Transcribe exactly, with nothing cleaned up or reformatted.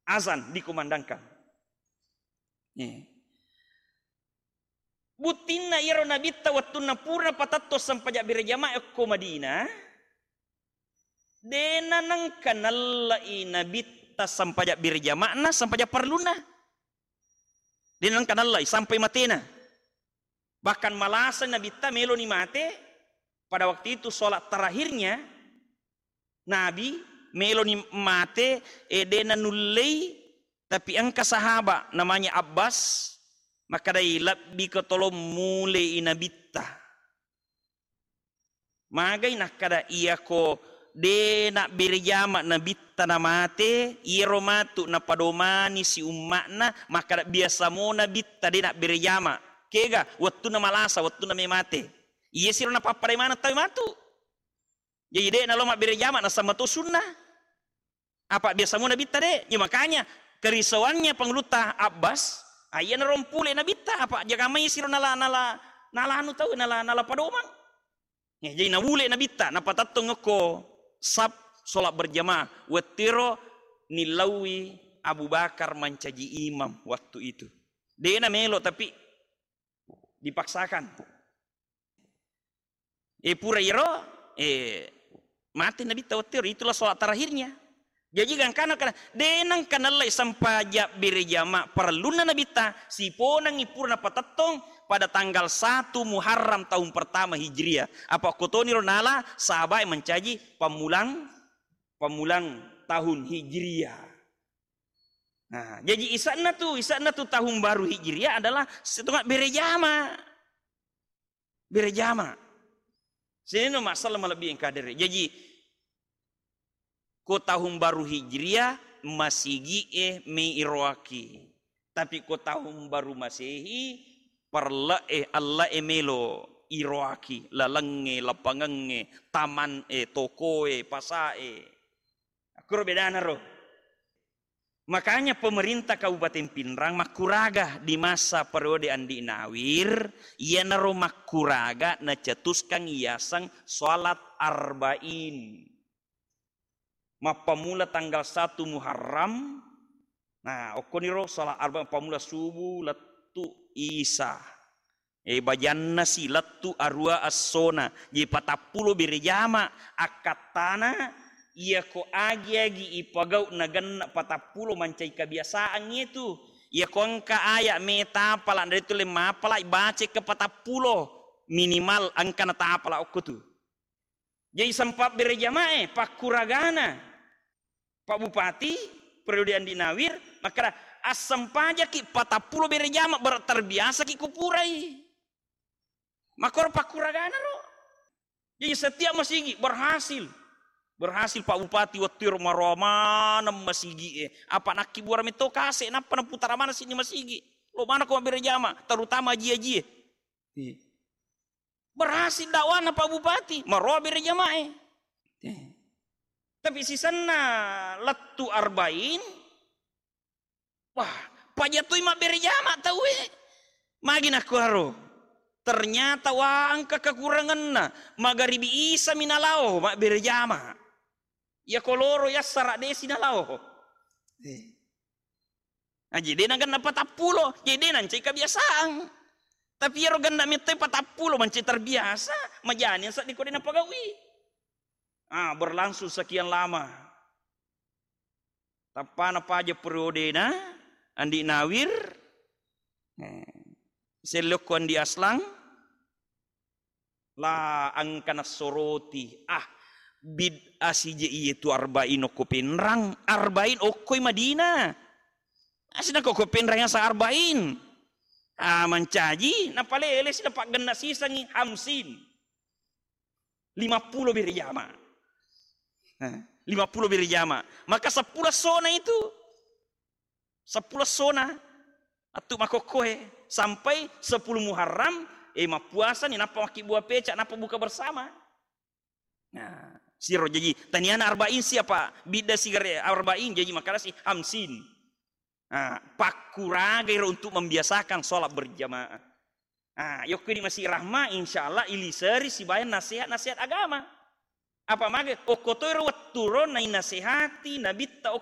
Azan dikumandangkan. Eh. Buttinna iyaro Nabitta wettunna pura patettong sempajang berjamaah okko Madinah, de' nanengka nallai Nabitta sempajang berjama'na, sempajang parlunna. De' nanengka nallai sampai matena. Bahkan malasa Nabitta meloni mate, pada waktu itu sholat terakhirnya Nabi meloni mate, e, de' nanullei, tapi engka sahaba namanya Abbas, makkedai, "Lebbi ko tolong mulei Nabitta." Magai nakkeda, "Iyako de' nabbere jama Nabitta namate, iyaro matu napadomani si umma'na, makkeda biasa mo Nabitta de' nabbere jama." Kega? Wettunna malasa, wettunna me mate. Iya siro napappadai maneng tau matu. Jadi de' nalo mabbere jama, nasamma to sunnah. Apa biasa mo Nabitta de'. Ya makanya kerisauannya Pangulutta Abbas, ah, iya narompule Nabitta, apa jaga mai siro nala, nala, nala anu tau, nala, nala padomang. Ya, jadi naule Nabitta, napatettong okko saf sholat berjamaah. Wettiro nillaui Abu Bakar mancaji imam waktu itu. De' namelo tapi dipaksakan. E, pura iro, e, mate Nabitta wettiro, itulah sholat terakhirnya. Jaji gangkana kana, de' nengka nallai sempajang berjama parellunna Nabitta, siponengngi pura napatettong pada tanggal satu Muharram tahun pertama Hijriah. Apa okkotoniro nala sahabae mancaji pammulang, pammulang tahun Hijriah. Nah, jaji isanna tu, isanna tu tahun baru Hijriah adalah setengah berjama. Berjama. Sininna masalah malebbi engka dere. Jaji, ko tahun baru Hijriah, masigi'e me iroaki. Tapi ko tahun baru Masehi, perle'e, alle'e melo iroaki, lalengnge, lapangengnge, taman e, tokoe, pasae. Akkuro bedana ro. Makanya pemerintah Kabupaten Pinrang makkuraga di masa periode Andi Nawir, iyanaro makkuraga nacetuskan yaseng sholat arba'in. Mappammula tanggal satu Muharram, nah, okkoniro sholat arba'in, mappammula subuh lettu isa. E, bajanna si lettu arua essona, je patappulo bere jama, akkattana, iyako agi-agi ipagau nagenna patappulo mancai kebiasaan itu. Iyako engka aya me tapala, nda tulle mapala, baca ke patappulo, minimal engka na tapala okko tu. Jadi sempat bere jamae, pakkuragana. Pak Bupati, periode Andi Nawir, makkeda, "Assempajaki patappulo bere jama, ber-, terbiasaki kupurai." Makkoro pakkuragana ro. Jadi setiap masigi berhasil. Berhasil Pak Bupati wettu ero maroa maneng masigi e. Apa nakkibura metto kase, nappa naputara maneng sini masigi. Lo mana ko mabbere jama, terutama aji-aji e. Iya. Berhasil dakwahna Pak Bupati, maroa bere jamae. Eh. Tapi sisenna lettu arba'in, wah, pajatoi mabbere jama tau e. Magi nakkuaro? Ternyata wa engka kekuranganna, magaribi isa mi nalao mabbere jama. Iya koloro yassara desi nalao. Eh. Aji de nagenna patappulo, jadi de nancai kebiasaan. Tapi iyaro genna metto patappulo mancai terbiasa, majani seddi ko de napagaui. Ah, berlangsung sekian lama. Tappana paja periodena Andi Nawir, eh, sellokko Andi Aslang, La engka nassoroti, ah, bid'ah sije iye tu arba'in okko Penrang, arba'in okkoi Madinah. Asina ko, ko Penrang yasa arba'in. Ah, mancaji, napalele si napaggenna sisangi hamsin. Lima puluh bere jama. Eh, lima puluh bere jama. Maka seppulo sona itu. Seppulo sona attu makokkoe sampai sepuluh Muharram, eh, mappuasani, nappa makkibua peca, nappa buka bersama. Nah, siro jaji taniana arba'in siapa? Bidda sigare arba'in, jaji makkadasi hamsin. Nah, pakkuragai ro untuk membiasakan sholat berjamaah. Ah, yokko di Masjid Rahma, insya Allah iliseri sibawa nasihat-nasihat agama. Apa mage? Okko toi ro wettu ro nainasehati Nabitta